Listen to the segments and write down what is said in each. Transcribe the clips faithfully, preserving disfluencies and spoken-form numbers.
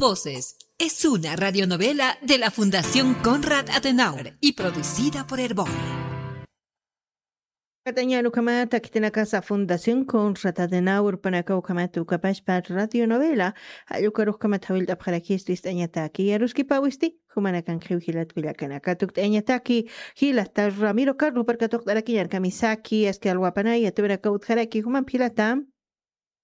Voces. Es una radionovela de la Fundación Konrad Adenauer y producida por Erbol. Katañan ukhamata khitinakasa Fundación Konrad Adenauer panaka ukhamata ukapashpa radionovela, jallukar ukhamata jawillt'apxarakistu ist'añataki. Yaruskipawisti, jumanakan jilat kullakanaka tukt'añataki, jilata Ramiro Carlos parka tuqt'arakiñar kamisaki, aski alwapanaya, tuvinaka utjaraki, jumampi jilata.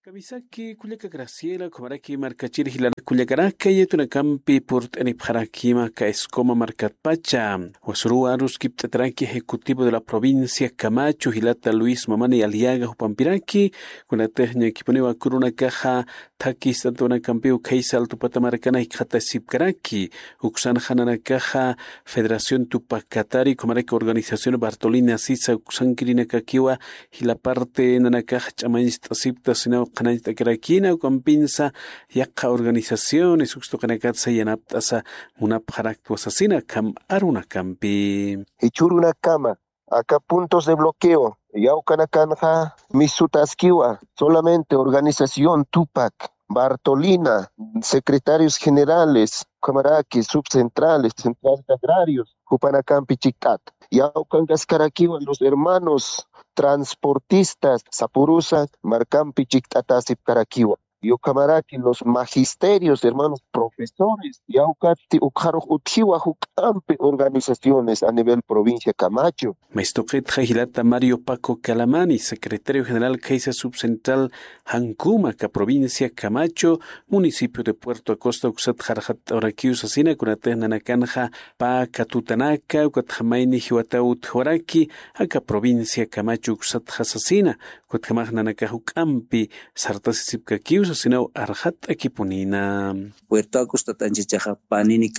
Kamisaki kullaka Graciela, ukhamaraki markachir jilata kullakanaka, yatunakampi purt'anipxarakima aka Escoma markatpacha. Wasuruwa aruskipt'ataraki ejecutivo de la provincia Camacho, jilata Luis Mamani Aliaga jupampiraki, kunatix ñakipuniwa kurunakaxa thakhi ist'antunakampiw khaysa Altu Pata markana jikxatasipkaraki, uksanxa nanakaxa Federación Tupac Katari, ukhamaraki organización Bartolina sisa uksankirinakakiwa, jila parte nanakax ch'amañcht'asipkta sinaw qhanañcht'akarakina, ukampinsa yaqha organizaciones ukstuqinakatsa yanapt'asa munapxaraktwa sasina akham arunakampi. Jichhürunakama aka puntos de bloqueo yawkanakanxa misutaskiwa, solamente organización Tupac, Bartolina, secretarios generales, ukhamaraki subcentrales, centrales agrarios, jupanakampi chikt'ata. Yawkankaskarakiwa los hermanos transportistas, sapurusa markampi chikt'atasipkarakiwa. Ukhamaraki los magisterios, hermanos profesores, yawkatti ukxarux utjiwa juk'ampi organizaciones a nivel provincia Camacho. Maystuqitxa jilata Mario Paco Calamani, secretario general khaysa subcentral Jancuma, aka provincia Camacho, municipio de Puerto Acosta, uksat jarxatt'awrakiw sasina, kunatix nanakanxa pä katutanaka, ukatxa mayni jiwataw utjwaraki, aka provincia Camacho uksatxa sasina, ukatjamax nanakax juk'ampi sartasisipkakiw sasinaw arxatt'akipunina. Puerto Acosta t'anchachaxa panini